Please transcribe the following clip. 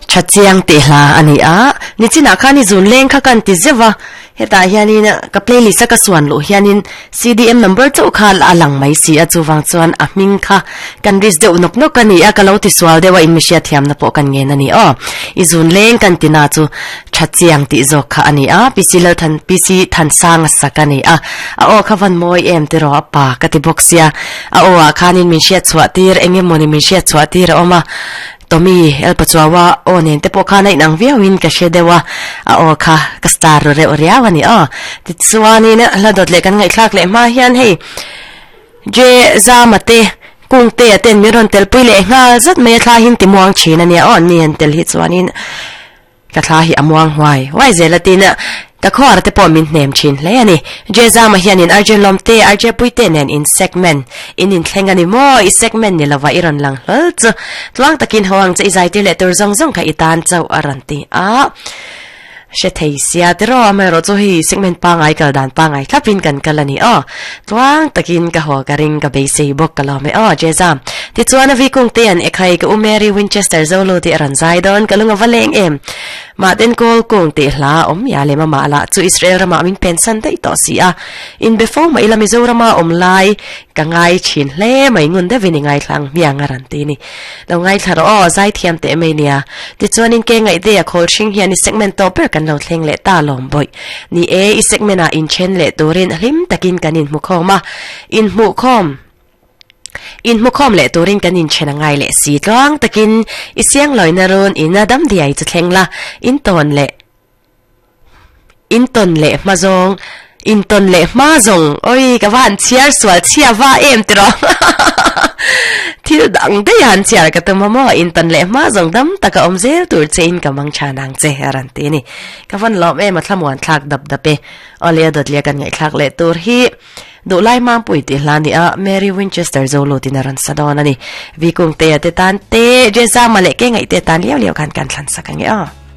Tha chiang tih hla a ni a, nichinah khan i zun leng kha kan ti zeuh a, hetah hianin ka playlist a ka suan luh hianin CDM number chauh kha a lang mai si a, chuvang chuan a hming kha kan risk deuh nawk nawk a ni a, ka lo ti sual deuh a inmihriat thiamna pawh kan ngen a ni aw. I zun leng kan ti na chu tha chiang tih zawk kha a ni a, PC Lalthan PC Thansanga sak a ni a, a aw kha van mawi em tiraw a pa ka ti bawk sia, a aw ah khanin min hriat chhuah tir eng emawni min hriat chhuah tir a awm a, Tommy, Elpa Chuaua aw nen te pawh khan a inang viauin ka hre deuh a, a aw kha ka star ru reuh riau a ni aw. Tichuanin hla dawt leh kan ngaihthlak leh hma hian hei Je Zama te, Kung te a ten min rawn telpui leh nghal zat mai a thla hin ti muang thin a nia aw, ni han tel hi chuanin Ka thla hi a muang huai huai zel a tin ka khuar te pawh min hnem thin hle a ni. Jezama hianin RJ Lawmte, RJ Puite nen in segment in inthleng a ni maw? I segment ni lova i rawn lang hlawl chu tluang takin ho ang che i zaitir leh tur zawng zawng kha i tan chauh a rawn ti a. Hre thei sia tiraw amaherawh chu hei segment pangai kal dan pangai thlapin kan kal a ni aw. Tluang takin ka haw ka ring ka beisei bawk ka lawm e aw Jezam. Tichuan a vikung te an ekhai ka u Mary Winchester Zolo tih a rawn zai dawn ka lung a va leng em. Mahten kawl kung tih hla a awm ya lem amah lah chu Israel ramah min pensan daih tawh si a. In be fo mah ila Mizorama awm lai ka ngai thin hle mai ngun deuhin i ngaithla ang hmiang a rawn ti ni. Lo ngaithla rawh aw, zaithiam teh mai nia. Tichuanin ke ngaihte a khawl hring hian i segment tawh ber kan lo thleng leh ta lawm bawih. Ni e, i segment ah inthen leh turin hlim takin kan inhmu khawm a. Inhmuh khawm Inhmu khawm leh turin kan inthen a ngai leh si tluang takin i siang lawina run in a dam diai chu thleng la, in tawn leh In tawn leh hma zawng, in tawn leh hma zawng, oi ka va han chhiar sual chhia va em tiraw Thil dang daih a han chhiar ka tum a maw, in tawn leh hma zawng dam taka awm zel tur che in ka mang tha nang che a rawn ti a ni. Ka van lawm em a thlamuan thlak dap dap e. Awle a dawt leh kan ngaihthlak leh tur hi Duhlai Mangpui tih hla ni a, Mary Winchester Zolo tin a rawn sa dawn a ni. Vikungtea te tan te, Jezama leh Kengaihte tan liau liau khan kan thlan sak ang e aw.